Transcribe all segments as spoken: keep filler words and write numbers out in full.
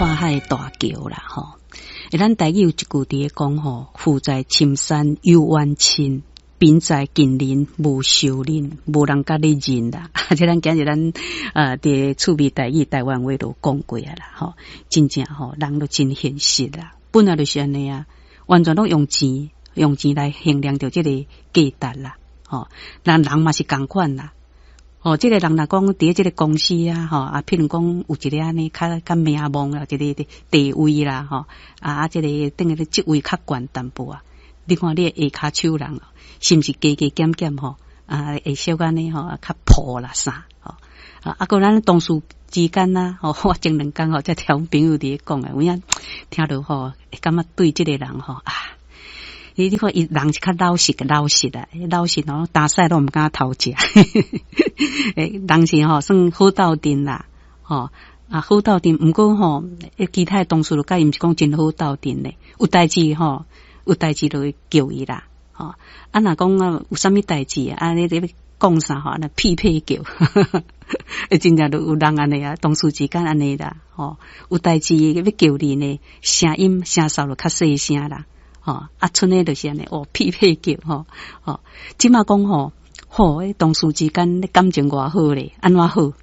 跨海大橋啦，吼。欸，咱台語有一句佇咧講吼，富在深山有遠親，貧在近鄰無相認，無人共你認啦。這咱今日咱呃佇趣味台語台灣話都講過啊啦，吼，真正吼人都真現實啦，本來就是按呢啊，完全攏用錢用錢來衡量著這個價值啦，吼，人人嘛是仝款啦。哦，這個人若講佇這個公司啊，吼啊，譬如講有一個按呢較較名望啦，一個地位啦，吼啊啊，這個等於職位較懸淡薄啊。你看你的下跤手人，是毋是加加減減吼？啊，會小按呢吼，較抱啦啥？吼啊，啊，閣咱同事之間啊，吼，我前兩工吼，才聽阮朋友佇咧講啊，有影聽著吼，會感覺對這個人吼啊。你你看伊人是較老實个老實啊，老實吼，打屎攏毋敢偷食。欸，人是吼算好鬥陣啦，吼啊好鬥陣，毋過吼，其他的同事就佮伊毋是講真好鬥陣咧，有代誌吼，有代誌就會叫伊啦，吼啊若講啊有啥物代誌啊，你咧講啥吼，那屁屁叫，欸，真正就有人按呢啊，同事之間按呢啦，吼有代誌欲叫你呢，聲音聲掃就較細聲啦。吼啊，賰呢就是按呢，哦，屁屁叫，吼，吼，這馬講吼，吼，同事之間感情偌好咧，按怎好？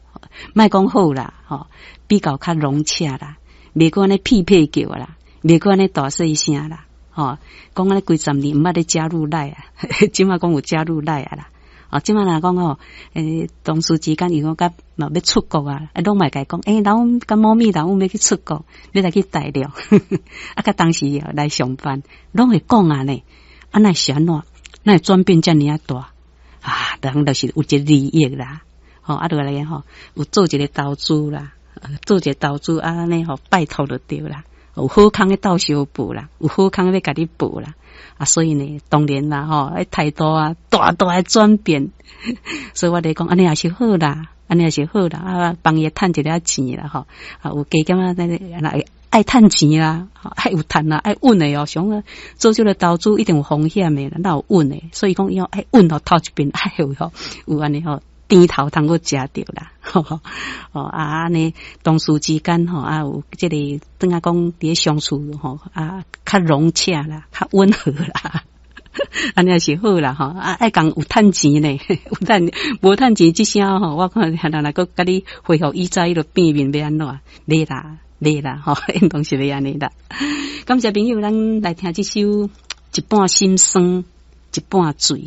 莫講好啦，吼，比較較融洽啦，袂閣按呢屁屁叫啦，袂閣按呢大細聲啦，吼，講按呢幾十年毋捌咧加入 LINE 啊，這馬講有加入 LINE 啊啦，哦，這馬若講吼，欸，同事之間如果佮嘛欲出國啊，攏嘛會共伊講，欸，老阮佮某咪老阮欲去出國，欲來去大陸，啊，佮當時來上班，攏會講啊呢，啊，哪會是按怎？哪會轉變遮爾仔大？啊，人就是有一個利益啦，吼，啊，落來吼，有做一個投資啦，做一個投資啊，按呢吼，拜託就對啦，有好康的鬥相報啦，有好康欲共你報啦。啊，所以呢，當然啦，吼，態度啊，大大的轉變。所以我咧講，按呢也是好啦，按呢也是好啦，啊，幫伊趁一點錢啦，吼，啊，有加減啊，那個愛趁錢啦，愛有趁啦，愛穩的哦。想講做這個投資一定有風險的，哪有穩的？所以講要愛穩吼，頭一遍愛有吼，有按呢吼，甜頭通閣食著啦。哦啊，按呢同事之間吼啊，有這個等下講佇咧相處吼啊，較融洽啦，較溫和啦。按呢也是好啦吼，啊愛共有趁錢呢，有趁無趁錢這聲吼，我看人若閣共你恢復以前彼個變面欲按怎？袂啦，袂啦，吼，應當是袂按呢啦。感謝朋友，咱來聽這首《一半心酸，一半醉》。